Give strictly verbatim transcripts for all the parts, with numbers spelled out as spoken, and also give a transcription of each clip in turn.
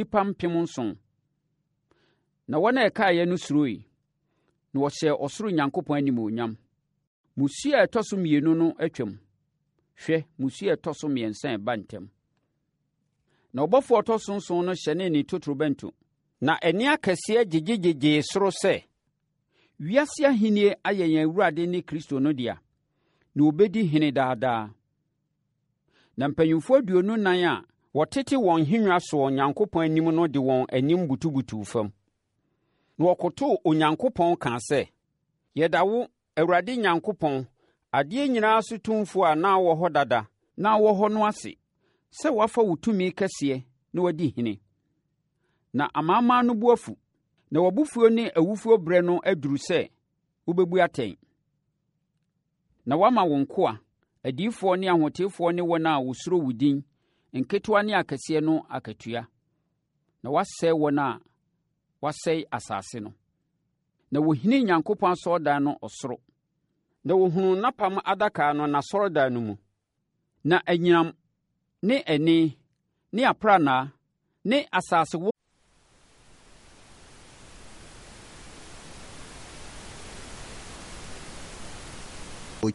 Nnipa mpem nson. Na wɔn a ɛkaeɛ no suroe, na wɔhyɛɛ ɔsoro Nyankopɔn animuonyam. Mmusuo a ɛtɔ so mmienu no atwam. Hwɛ, mmusuo a ɛtɔ so mmiɛnsa reba ntɛm. Na ɔbɔfoɔ a ɔtɔ so nson no hyɛnee ne totorobɛnto. Na ɛnne akɛseɛ gyegyegyegyee soro sɛ, Wiase ahennie ayɛ yɛn Awurade ne Kristo no dea, na ɔbɛdi hene daa daa. Na mpanyimfoɔ aduonu nan a wɔtete wɔn nhennwa soɔ Onyankopɔn anim no de wɔn anim butubutuu fam. Na wɔkotoo Onyankopɔn kaa sɛ, Yɛda wo, Awurade Nyankopɔn, adeɛ nyinaa so tumfoɔ a na wɔ hɔ dada na wɔ hɔ no ase, sɛ woafa wo tumi kɛseɛ na woadi hene. Na amanaman no bo afu, na w'abufuo ne awufoɔ berɛ no aduru sɛ wobɛbu atɛn. Na woama wo nkoa, adiyifoɔ ne ahotefoɔ ne wɔn a wɔsuro wo din, nketewa ne akɛseɛ no akatua. Na woasɛe wɔn a wɔasɛe asase no. Na wɔhinii Nyankopɔn asɔredan no ɔsoro. Na wɔhunuu n'apam adaka no n'asɔredan no mu. Na anyinam ne ɛnne ne aprannaa ne asase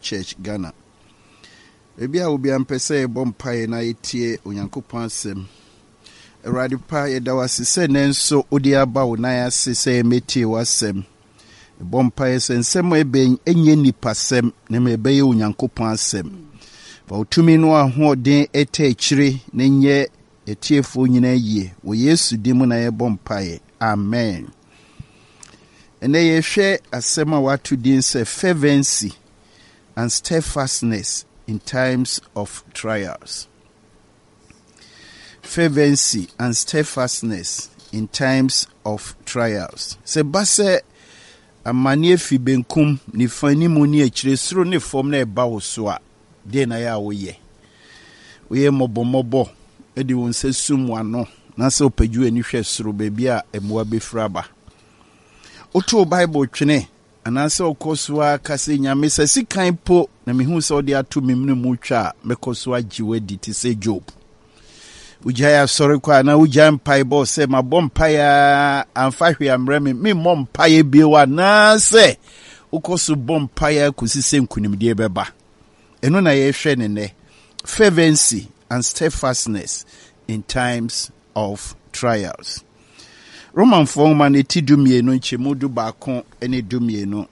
Church Ghana. Baabi a obiara mpɛ sɛ yɛbɔ mpaeɛ na yɛtie Onyankopɔn asɛm. Awurade pa, yɛda wo ase sɛ nnɛ nso wode aba wo nan ase sɛ yɛmmɛtie w'asɛm. Yɛbɔ mpaeɛ sɛ nsɛm a ɛbɛn ɛnyɛ nnipasɛm na mmom ɛbɛyɛ Onyankopɔn asɛm. Fa wo tumi no ahoɔden ɛtɛ akyire na nyɛ atiefoɔ nyinaa yie. Wɔ Yesu din mu na yɛbɔ mpaeɛ. Amen. Ɛnɛ yɛhwɛ asɛm a wato din sɛ fervency and steadfastness in times of trials. Fervency and steadfastness in times of trials. Sɛ ba sɛ amanneɛ fi benkum, nifa anim ne akyire, soro ne fam na ɛba wo so a, deɛ na yɛ a woyɛ? Woyɛ mmɔbɔmmɔbɔ de wo nsa sum w'ano na sɛ wopagye w'ani hwɛ soro baabi a mmoa bɛfiri aba. Woto Bible twene anaasɛ wokɔ so ara ka sɛ Nyame sɛ sikan po na mehu sɛ wode ato me mene mu twa a mɛkɔ so agye w'adi te sɛ Job. Wogyae asɔre kɔ anaa wogyae mpaebɔ sɛ mabɔ mpaeɛ a amfa hwee ammrɛ me memmɔ mpaeɛ bio anaasɛ wokɔ so bɔ mpaeɛ kɔsi sɛ nkonimdie bɛba. Ɛno na yɛhwɛ ne nnɛ. Fervency and steadfastness in times of trials. Romanfoɔ nwoma no ti du mmienu nkyɛmu du baako ne du mmienu.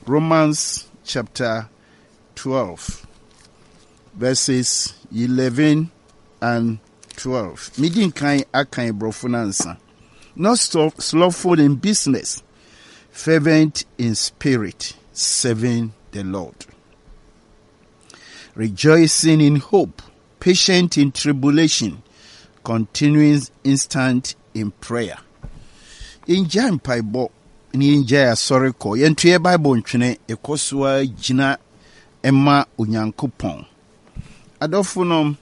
Romans chapter twelve verses eleven and twelve. Medi nkan akan borɔfo no ansa. Not slothful in business, fervent in spirit, serving the Lord. Rejoicing in hope, patient in tribulation, continuing instant in prayer. Yɛngyae mpaebɔ na yɛngyae asɔre kɔ. Yɛnto yɛ Bible ntwene, ɛkɔ so ara gyina ma Onyankopɔn. Adɔfo no,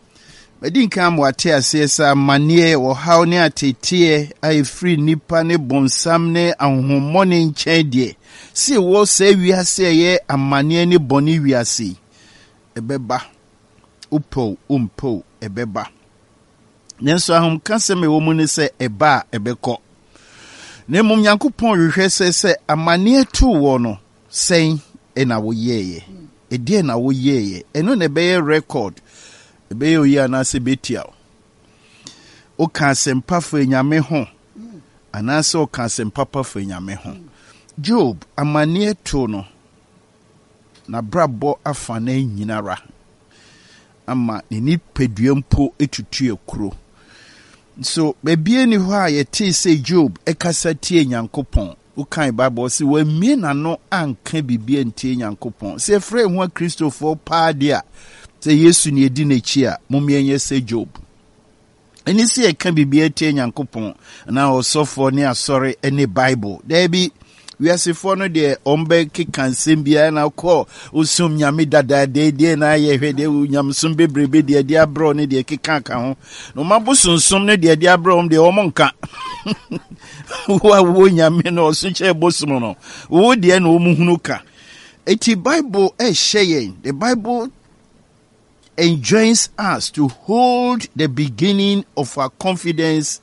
madi nkan ama wate aseɛ sɛ amanneɛ, ɔhaw ne ateteɛ a ɛfiri nnipa ne bonsam ne ahonhommɔne nkyɛn deɛ, sɛ ɛwɔ saa wiase a ɛyɛ amanneɛ ne bɔne wiase yi, ɛbɛba. Wopɛw, wompɛw, ɛbɛba. Nanso ahomkasɛm a ɛwɔ mu ne sɛ ɛba a ɛbɛkɔ. Na mmom Nyankopɔn hwehwɛ sɛ sɛ amanneɛ too wɔ no, sɛn ɛna woyɛeɛ? Ɛdeɛn na woyɛeɛ? Ɛno na ɛbɛyɛ record. Ɛbɛyɛ oyi anaasɛ ɛbɛtia wo. Woka asɛmpa fa Nyame ho anaasɛ woka asɛmpa pa fa Nyame ho. Job, amanneɛ too no, n'abrabɔ afa no nyinara ama ne nipadua mpo etutu akuro. So baabi ni hɔ a yɛtee sɛ Job ɛkasa tie Nyankopɔn. Wokan Bible sɛ wammie n'ano anka biribi antie Nyankopɔn. Sɛ yɛfrɛ yɛn ho Akristofoɔ paa deɛ a, sɛ Yesu ne yɛdi n'akyi a, mom yɛnyɛ sɛ Job. Ɛne sɛ yɛka biribi atie Nyankopɔn anaa ɔsɔfoɔ ne asɔre ne Bible. Daabi, wiasefoɔ no deɛ ɔmbɛkeka nsɛm biara na kɔ osom nyame dadaada deɛ na ayɛ hwɛ deɛ nyamesom bebrebe deɛ de abrɛ ne deɛ keka ka ho na ɔma bosonsom no deɛ de abrɛ wɔn deɛ wɔn nka wo a wo nyame no ɔso kyɛ bosom no wo deɛ na wɔn hunu ka eti Bible ɛhyɛ yɛn. The Bible enjoins us to hold the beginning of our confidence